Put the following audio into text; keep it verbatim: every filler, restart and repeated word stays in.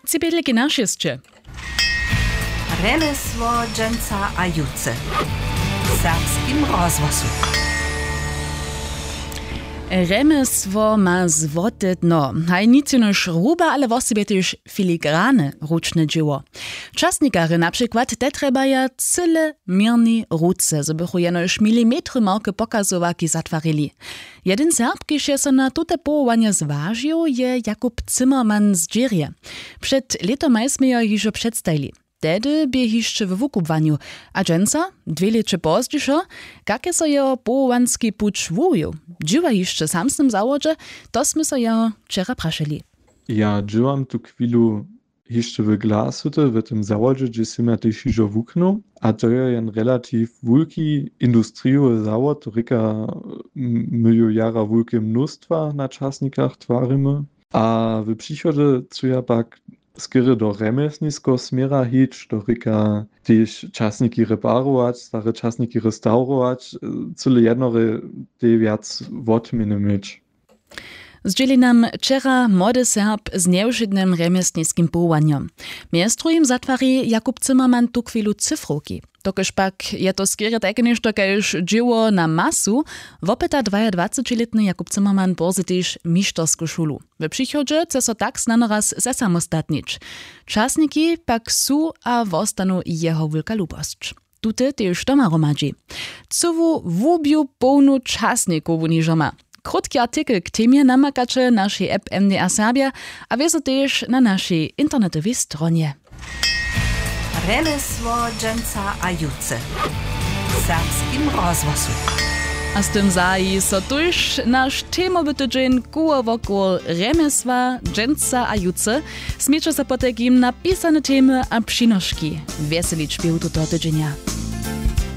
Tři bědliki na šěsće. Rjemjesło dźensa a jutře w serbskim rozhłosu. Rjemjesło ma złote dno. Haj nic jenož ruba, ale wosebje tež filigrane ručne dźěło. Časnikarje na přikład te trjebaja cyle měrnej ruce, zo bychu jenož milimetry małke pokazowarki zatwarili. Jedyn Serb, kiž je so na tute powołanje zwažił, je Jakub Zimmermann z Dźěrje. Před lětomaj smy jo hižo předstajili. Tehdy bě hišće we wukubłanju, a dźensa, dwě lěće pozdźišo, kak je so jeho powołanski puć wuwił? Dźěła hišće w samsnym zawodźe? To smy so jeho wčera prašeli. Ja dźěłam tu chwilu hišće w Glasuty, w tym zawodźe, hdźež sym ja tež hižo wuknył. A to je jen relativ wulki industrijowy zawod, rěka, m-, my ju jara wulke mnóstwa na časnikach twarimy. A w přichodźe chcu ja pak skerje do rjemjesniskeho směra hić, to rěka tež časniki reparować, stare časniki restaurować, e, cyle jednore tej wjac wotměny měć. Zdźěli nam wčera młody Serb z njewšědnym rjemjesniskim powołanjom. Mjez druhim zatwari Jakub Zimmermann tuchwilu cyfrowki. Dokelž pak je to skerje tajke něšto kaž dźěło na masu, wopyta dwajadwacećilětny Jakub Zimmermann bórze tež mištersku šulu. W přichodźe chce so tak snano raz zesamostatnić. Časniki pak su a wostanu jeho wulka lubosć. Tute tež doma hromadźi. Cyłu łubju połnu časnikow wón hižo ma. Krótki artikel k temje namakaće w našej app M D R Serbja a wězo tež na našej internetowej stronje. Rjemjesło dźensa a jutře w serbskim rozhłosu. A z tym zahaji so tuž naš temowy tydźeń koło wokoło rjemjesła dźensa a jutře. Směće so potajkim na pisane temy a přinoški wjeselić běhu tutoho tydźenja.